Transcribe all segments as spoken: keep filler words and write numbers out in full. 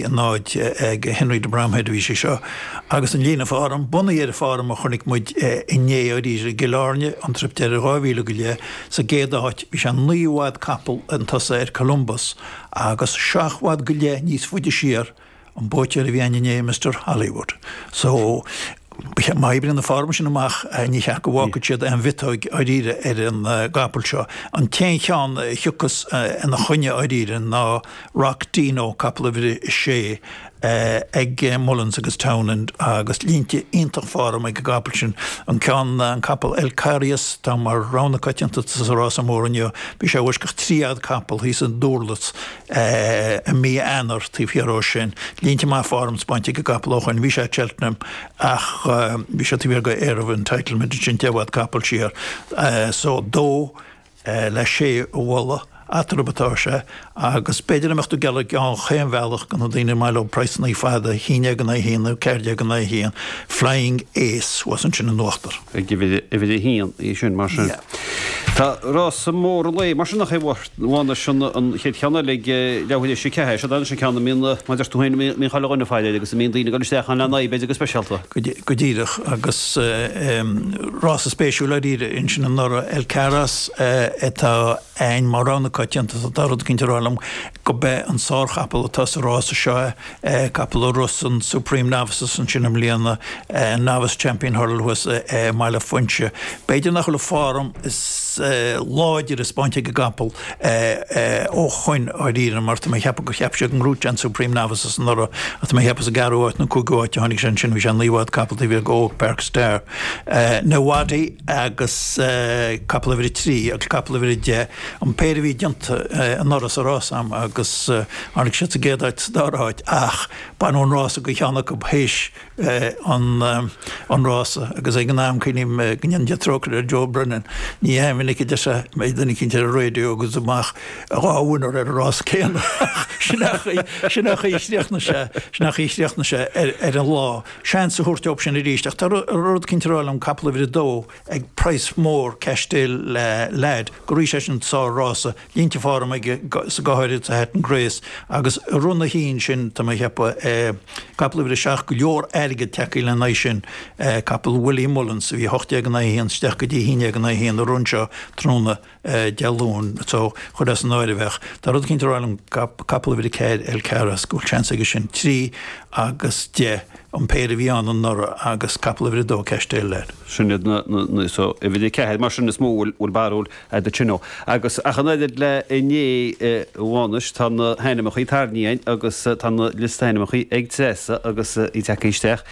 náid ag Henry de Bromhead bhí sé seo agus an líne form bunaithe ar form a chonaic muid inné arís i gCill Airne an trip deiridh dhá mhíle go leith sa gcéad áit bhí sé naoi bhfad capall chun tosaigh ar Columbus agus seacht bhfad go leith níos faide siar an buaiteoir a bhí ann inné Mister Hollywood. So má oibríonn an form sin amach ní cheart go bhfágfaidh siad aon mhiotóg dháiríre ar an gcapall seo. An t-aon cheann a thiocfas ina choinne dháiríre ná Rock Dino, capall uimhir a sé ag Mullins agus Townend agus línte iontach form ag an gcapall sin. An ceann, an capall El Carias, atá mar rogha na coitianta sa rása mór inniu, bhí sé i bhfoisceacht trí fhad capall thíos i nDurlas i mí Eanáir taobh thiar ó sin. Línte maith form spáinte ag an gcapall ó shoin. Bhí sé ag Cheltenham ach bhí sé taobh thiar de Air of Entitlement ansin deich bhfad capall siar. So dó le sé a mholadh eatarthu atá sé agus b'fhéidir a mbeadh tú geall ar chaon bhealach do na daoine ar maith leo praghsanna fada, a haon déag in aghaidh a haon nó ceathair déag in aghaidh a haon, Flying Ace thuas ansin in uachtar. Ag uimhir a haon í sin mar sin. Tá rása mór an lae mar sin nach é a Mhánais an chéad cheann eile ag leathuair tar éis a ceathair. Seo anois an ceann a mbíonn, mar a deir tú féin, a mbíonn chuile dhuine ag faire air agus a mbíonn daoine ag dul isteach ann lena aghaidh b'fhéidir go speisialta. Go díreach agus rása spéisiúil dáiríre ansin anuraidh El Caras atá ann mar rogha na coitianta tá rud eicínt ag rá liom go b'é an sárchapall atá sa rása seo é, capall a rith an Supreme Novices ansin i mbliana, Novice Champion Hurdle thuas i mBaile Fuinse. B'fhéidir nach bhfuil an form is láidre spáinte ag an gcapall ó shoin dháiríre mar tá mé ag ceapadh gur cheap siad go ngnóthódh sé an Supreme Novices anuraidh ach tá mé ag ceapadh sa gceathrú háit nó cúigiú háit a tháinig sé ansin, bhí sé naoi bhfad capall taobh thiar de Oak Park Star. Nawadi agus capall uimhir a trí agus capall uimhir a deich, an péire a bhí déanta anuraidh sa rás a'm agus tháinig siad sa gcéad áit sa dara háit ach baineadh an rása de cheann acu théis an rása agus ag an am cuimhním go ndéana Dia trócaire ar Joe Brennan, ní hea minic a deir sé mbeidh duine eicínt ar an raidió agus amach dhá winner ar an rás céanna ach sin é an chaoi sin é an chaoi a chríochnaigh sé sin é an chaoi a chríochnaigh sé ar ar an lá. Seans a thabhairt dóibh sin arís ach tá rud eicínt ag rá liom capall uimhir a dó ag praghas mór Cashel Lad go rith sé sin sár-rása, línte form aige sa go háirid sa Hatton Grace agus i run a haon sin tá mé ag ceapadh capall uimhir a seacht go leor airgead tagtha lena aghaidh sin, capall Willie Mullins a bhí a hocht déag in aghaidh a haon isteach go dtí a haon déag in aghaidh a haon i run seo tráthnóna Dé Luain so cuir é san áireamh ach tá rud eicínt ag rá liom capall uimhir a ceathair El Caras go bhfuil seans aige sin trí agus deich an péire a bhí ann anuraidh agus capall uimhir a dó Cashel Lad. Sin iad na, na, na, so, uimhir a ceathair mar sin is mó a bhfuil barúil agat ansin. Agus ach an oiread le inné a Mhánais tá na hainmneacha tarraingthe agus tá na liosta ainmneacha ag Treasa agus í tagtha isteach.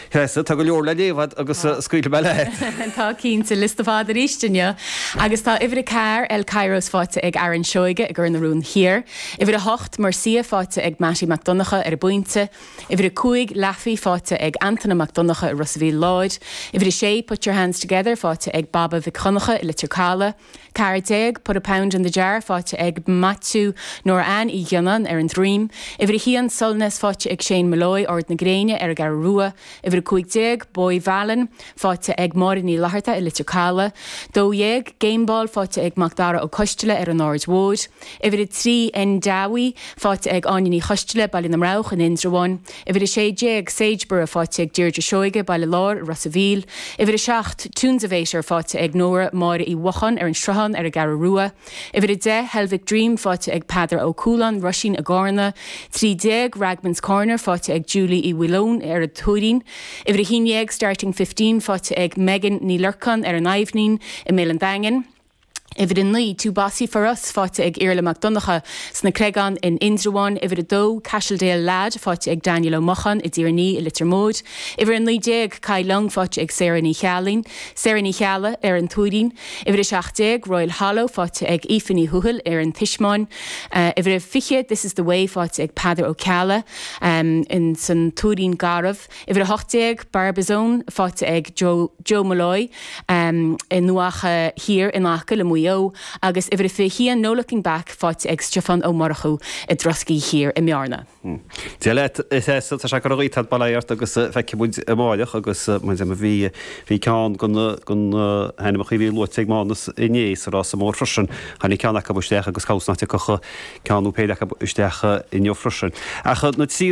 Treasa, tá go leor le léamh agat agus scaoilfidh mé leat. Tá cinnte, liosta fada arís inniu. Agus tá uimhir a ceathair, El Kairos faighte ag Aaron Seoige i gCor na Rún Thiar. Uimhir a hocht, Murcia faighte ag Mattie Mac Donncha ar an bPointe. Uimhir a cúig, Laffey faighte ag Antaine Mac Donncha i Ros a' Mhíl Láir. Uimhir a sé, Put Your Hands Together faighte ag Baba Mhic Dhonncha i Leitir Caladh. Ceathair déag, Put a Pound in the Jar faighte ag Maitiú Nóra Ann Uí Ghionnáin ar an Droim. Uimhir a haon, Solness faighte ag Shane Molloy, Ard na Gréine ar an gCeathrú Rua. Uimhir a cúig déag, Boy Vallon faighte ag Máire Ní Fhlatharta i Leitir Caladh. Dó dhéag, Game Ball faighte ag Mac Dara Ó Coisteala ar an Aird Mhóir. Uimhir a trí, Endawi faighte ag Áine Ní Choisteala, Baile na mBroghach in Indreabhán. Uimhir a sé déag, Sageborough faighte ag Deirdre Seoige, Baile Láir, Ros a' Mhíl. Uimhir a seacht, Tunesavator faighte ag Nóra Máire Uí Mhocháin ar an Sruthán ar an gCeathrú Rua. Uimhir a deich, Helvick Dream faighte ag Peadar Ó Cualáin, Roisín i gCárna. Trí déag, Ragman's Corner faighte ag Julie Uí Mhaoileoin ar an Tuairín. Uimhir a haon déag, Starting Fifteen faighte ag Megan Ní Lorcáin ar an Aibhnín i mBéal an Daingin. Uimhir a naoi, Too Bossy For Us faighte ag Iarla Mac Donncha sna Creagáin in Indreabhán. Uimhir a dó, Cashildale Lad faighte ag Daniel Ó Mocháin i dTír an Fhia i Leitir Móir. Uimhir a naoi déag, Kai Lung faighte ag Sarah Ní Cheallaigh, Sarah Ní Cheallaigh ar an Tuairín. Uimhir a seacht déag, Royal Hollow faighte ag Aoife Ní Thuathail ar an Tismeáin. Uimhir a fiche, This Is The Way faighte ag Peadar Ó Ceallaigh in san Tuairín Garbh. Uimhir a hocht déag, Barbizon faighte ag Joe, Joe Molloy i nDumhach Thiar in aice le Maigh Eo agus uimhir a fiche haon No Looking Back faighte ag Stiofán Ó Murchú i dTroscaí Thiar i mBearna. Dia leat a Threasa, tá sé curtha díot bail ort agus feicfidh muid amáireach agus mar a bhí bhí ceann de na de na hainmneacha a bhí luaite ag Mánas inné sa rása mór freisin. Tháinig ceann acu isteach agus cá bhfios nach dtiocfadh ceann nó péire acu isteach inniu freisin. Ach na trí